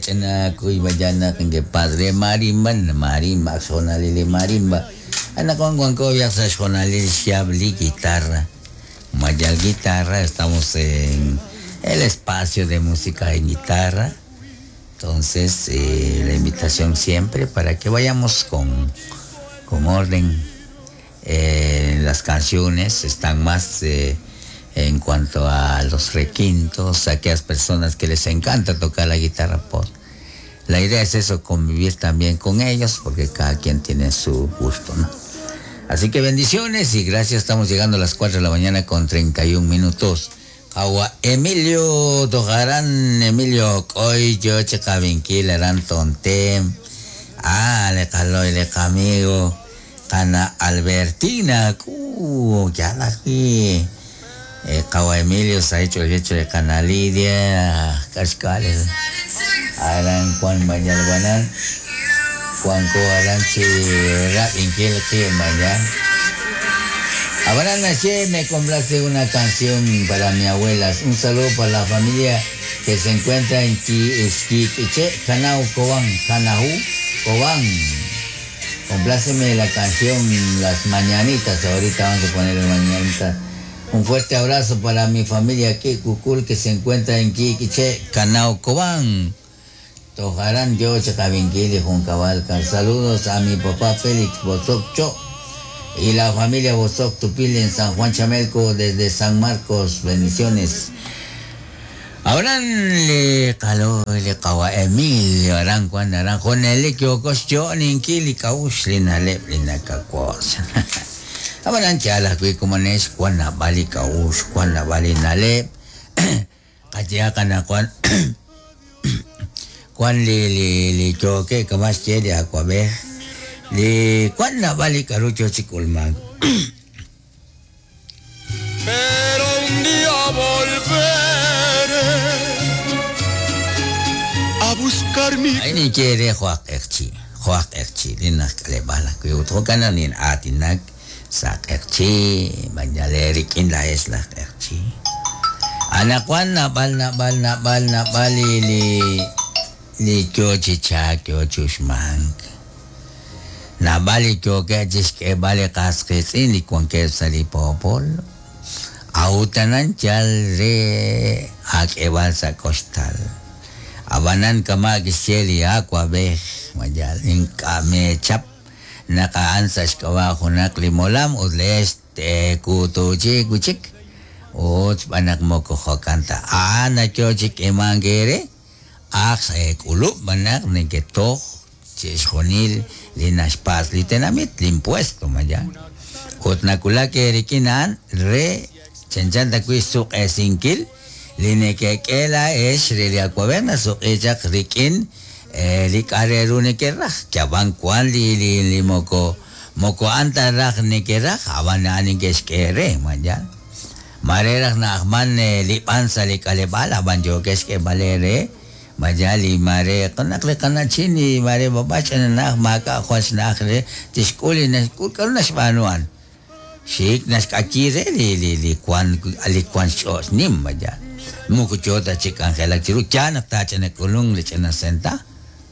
Ch'ina kuybayanaq inke padre marimba marimba ak xjoonalil li marimba. Anaqwan wanko yaq sa' xjoonalil xyaab' li guitarra. Mayal guitarra, estamos en el espacio de música en guitarra. Entonces, la invitación siempre para que vayamos con, con orden. Las canciones están más en cuanto a los requintos, a aquellas personas que les encanta tocar la guitarra pop. La idea es eso, convivir también con ellos, porque cada quien tiene su gusto, ¿no? Así que bendiciones y gracias. Estamos llegando a las 4 de la mañana con 31 minutos. Awa Emilio Tojarán, Emilio Koy, yo Chekavinquil, Aran Tontem. Ah, le caloy, le amigo. Ana Albertina, ya la vi. Kawa Emilio, se ha hecho el hecho de Cana Lidia, Cascales. Aran Juan Mañalbanan, Juan Ko Aran Chi Rap Inquil Mañan. Abraham Naché me complace una canción para mi abuela. Un saludo para la familia que se encuentra en Quiche, Canau, Cobán, Canaú, Cobán. Compláceme la canción Las Mañanitas. Ahorita vamos a poner las mañanitas. Un fuerte abrazo para mi familia aquí, Cucul, que se encuentra en Quiche, Canau, Cobán. Tojarán yo, Chacavinquil y Juncabalca. Saludos a mi papá Félix Bozoc Cho y la familia Bozoc Tupil en San Juan Chamelco desde San Marcos. Bendiciones. Abraham le caló le kawa Emilio aran Juan aran Juan el kyokos yo ninkili kaush linalep linakakos. Abraham chala kui kumanes Juan bali kaush Juan bali nalep. Kaya kana Juan Juan li li li choque kamas che de aquabe. Li Juan na bali karucho chikulman. Pero un día volveré a buscar mi Ay ni quiere Juan Erchi, Juan Erchi, linak kalebala kuy utro kana nin atinak sa Erchi, banyale rikin la es la Erchi. Anak Juan na bal na bal na bal na bali li li kyo chicha kyo chushmank. Na bali kyo ke chishke bali kaskitsin li kwan ke sa li popol. Autanan chal re ak ebal sa kostal. Abanan kama kisheli aqua beh mayal inkame chap nakaan sa shkawa hunak limolam udles te kutuchi kuchik ut banak mo ko kanta ana chochik emangere ak sa ekulup banak niketo chishjonil linashpas litenamit limpuesto maya ut nakula ke rikinan re chanchanta kui suq esinkil linekekela es riliacuaverna suq echak rikin likareru nekeraj chaban kuan li li li moko moko anta raj nekeraj aban anin keskere maya mareraj na ahman lipan sa likalebal aban yo keske balere maya li mare kanak le kanachini mare babach na maka khwas na akhre tishkuli na karuna shbanuan shik nas kakire li li li kwan ali kwan shos nim maya mukuchota chik angela chiru chana tacha ne kulung le chana senta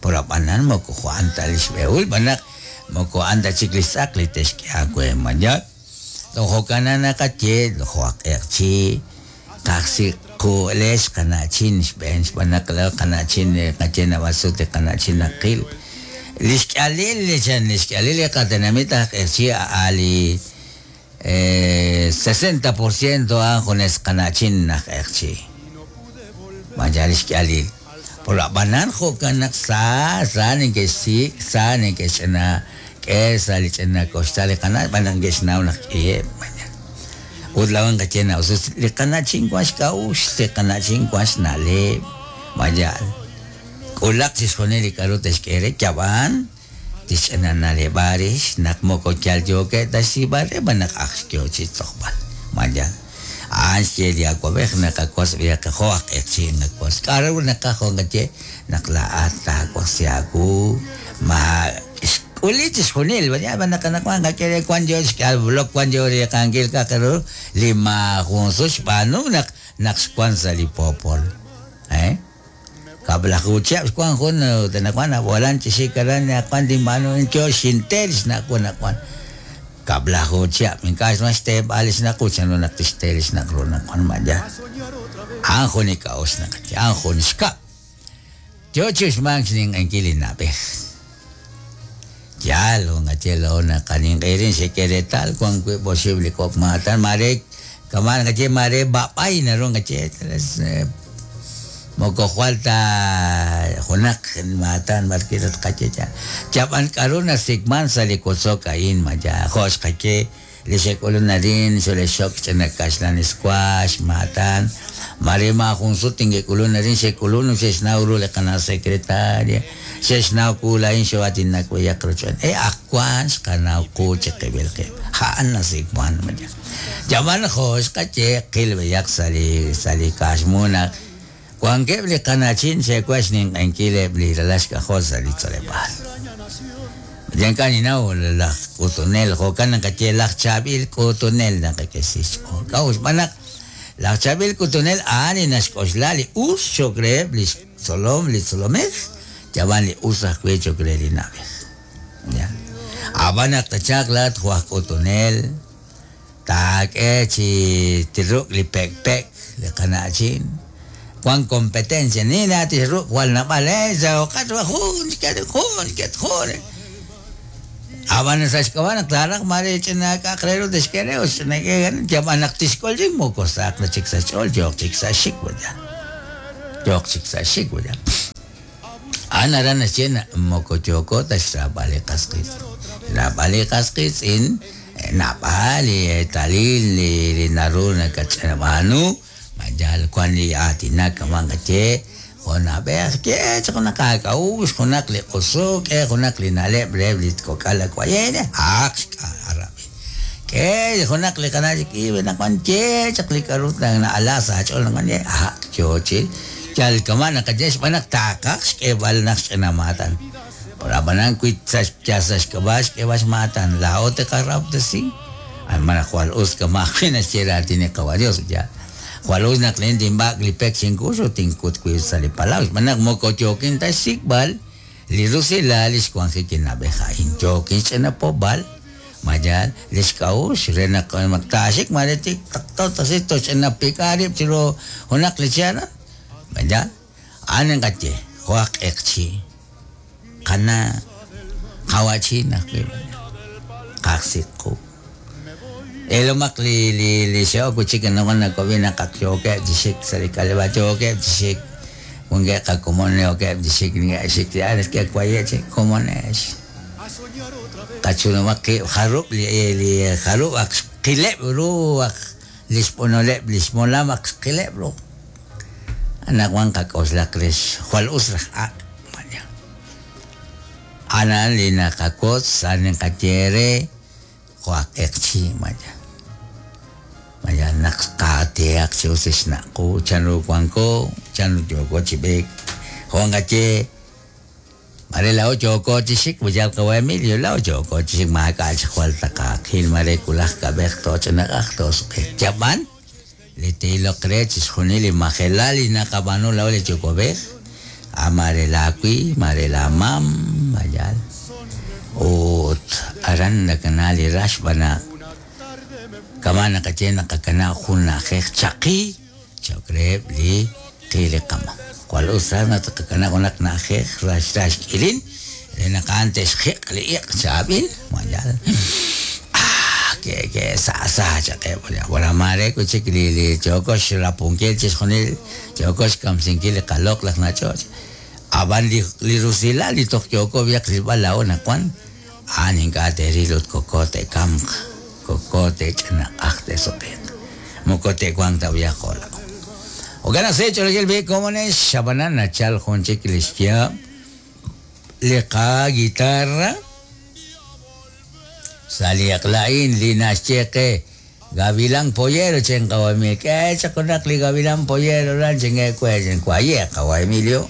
por apanan moko juan talish beul banak moko anda chiklisak li teshke akwe maya tojo kanana kache lojo akerchi taxi ku lesh kanachin bench banak la kanachin kachena basute kanachin akil lishkalil lechan lishkalil katenamita akerchi ali 60% anjones kanachin akerchi maya lishkalil por la banan jokanak sa sa ni que sí sa ni que chena que sa li chena costa le kana banan que chena una que maya udlawan ka chena o sea le kanachin kwash kaush le kanachin kwash nale maya kulak sisjoneli karotes kere chaban tichena nale barish nak moko chal yoke tasi bare banak axkyo chitoqbal maya anche di aquabej nakakwas biya ka hoak etsi nakwas karaw nakaho ngache nakla ata kwasiaku ma ulitis junil ba ba nakanakwan ka kere kwan yo skal blok kwan yo ri kangil ka karo lima junsus panu nak nak kwan sa li popol eh Kab'laju chihab' xwank jun ut anaqwan ab'walan chi xik aran anaqwan tinb'aanu a'in yo xinte li xnaq' wu anaqwan. Kab'laju chihab' ink'a' xwan xteeb'al li xnaq' wu chanru naq tixte li xnaq' ru anaqwan ma yaal. A'an jun li k'a'uxl naqaye, a'an jun xkab'. Yo chi uxmank xninq'ehinkil li na'b'ej. Yaal, jun qaye laa'o naqaninq'ehi xek'e reetal wank wiib' oxib' li kok' maatan maare kama' naqaye maare b'ab'ay naru naqaye moko jwal ta junaq maatan b'arwi' tqaye yaal. Yab'an k'aru nasik'mank sa' li wotzok a'in ma yaal jo' xqaye Li xe'k'ulun arin xole'xxok ch'ina kaxlan squash, maatan. Maare maajun sut ink'ek'ulun arin xe'k'ulun ut xe'xnaw ru li qana' secretaria, xe'xnaw wu laa'in xoo'aatinak b'ayaq rochb'een. E ak wank xqanaw qu chiqib'il qib'. A'an nasik'man ma yaal. Yab'an jo' xqaye qil b'ayaq sa' li sa' li kaaxmu naq wankeb' li qana'chin xe'wan xninq'ehinkil eb' li ralal xk'ajol sa' li tzoleb'aal. Ink'a' ninnaw laj k'utunel, jo'kan naqaye laj chaab'il k'utunel naqak'e xch'ool. K'a'ut? Xb'aan naq laj chaab'il k'utunel a'an li naxk'oxla li us cho'q reheb' li xtzolom li tzolomej, yab'an li us ajwi' cho'q re li na'b'ej. Ab'an naq tachalq laa'at jo' aj k'utunel, Taak'e chi tiruk' li pekpek li qana'chin. Wank competencia ni na tixruk' jwal naab'al e sahoqat wa jun xket jun xket jun. Ab'an sa' xk'ab'a' naq taaraj maare ch'ina k'a'aq re ru tixk'e re ut ch'ina k'e yab'an naq tixk'ul chik moko sahaq ta chik sa' xch'ool yooq chik sa' xxik waya. Yooq chik sa' xxik waya. A'an aran naxye naq moko yooko ta xraab'al li qas qiitz'in. Xraab'al li qas qiitz'in naab'al li eetalil li naru nakatxb'aanu, ma yal wan li aatinak kama' naqaye, jo' na'b'ej, ye chaq junaq aak'a'uxl, junaq li q'usuk, k'e junaq li na'leb' reheb' li kok'al awa'b'ej, a'aq xk'a'arab'il. K'e junaq li qana' chik iib' anaqwan ye chaq li k'a'ru na'ala sa' aach'ool anaqwan ye a'aq yoo chi yal kama' naqaye xb'aan naq taaqaj xk'eeb'al naq xch'ina maatan. Ab'anan wi sa' yal sa' xk'ab'a' xk'eeb'al xmaatan laa'o te'qarahob'tesi, malaj jwal us kama' ajwi' naxye raatin li Qawa' Dios, yaal. Jwal us naq laa'in tinb'ak' li pek chinkux ut tinkut wib' sa' li palaw xb'aan naq moko yookin ta xsik'b'al Li rusilal li xwanjik li na'b'ej a'in yookin xch'ina poopb'al, ma yaal, li xk'a'uxl re naq taaxik maare tik taqto tasi toxch'ina pik'a rib' chiru junaq li che' aran, ma yaal? A'an ninqaye, jo' aj q'eqchi', qana', qawa'chin ajwi', ma yaal, qajsik qu. Ilomaq li li li xe'ok wi' chik anaqwan nawab'i naq ak yookeb' chi xik sa' li k'aleb'aal, yookeb' chi xik, wankeb' qakomon yookeb' chi xik, neke'xik chi aran naxk'e waye' chik komonex. Qachunumaq qib' jarub' li li jarub' ak xqileb' ru ak li xb'onoleb' li xmolam ak xqileb' ru. Anaqwan qak'oxlaq rix jwal us raj ak'. A'an li naqawotz, a'an li naqaye eere jo' aj q'eqchi' maya. Maya naq qaatehaq chi us li xnaq' qu, chanru wanko, chanru yooko chi b'eek. Jo' naqaye, mare laa'o yooko chi xik, yal qawa' Emilio, laa'o yooko chi xik maak'a' chik jwal taqaqil, mare wulaj kab'ej tooch'inaq'aq toosuk'e. Yab'an li te'iloq re chixjunil li majelal li naqab'aanu laa'o li yuwa'b'ej, a maare laa wi, maare laa mam, ma yaal. Ut aran nakana li rax xb'aan naq kama' naqaye naqakanab' jun na'ajej chaqi cho'q reheb' li qi li qamam. Jwal us raj naq tqakanab' junaq na'ajej rax rax k'ilin re naq a'an te'xjiq' li iq' chaab'il, ma yaal. Ah, ke ke sa sa chaq eb' li wala maare wi' chik li li yooko xrapunkil chixjunil, yooko xkamsinkil li qaloq'laj nach'och'. Ab'an li li rusilal li toj yooko b'ayaq rilb'al laa'o naq wan, a'an ink'a' te'ril ut koko te'kamq, koko te'ch'inaq'aj te'suq'iiq. Moko te'wanq ta b'ayaq jo' laa'o. Jo'kan naq se ch'olojil b'i' komonex, ab'anan nachal jun chik li xyaab' li qa guitarra sa' li eq'la a'in li naxye qe Gavilán Pollero chin qawa Emilio. K'e chaq junaq li Gavilán Pollero ran chin we chin waye qawa Emilio.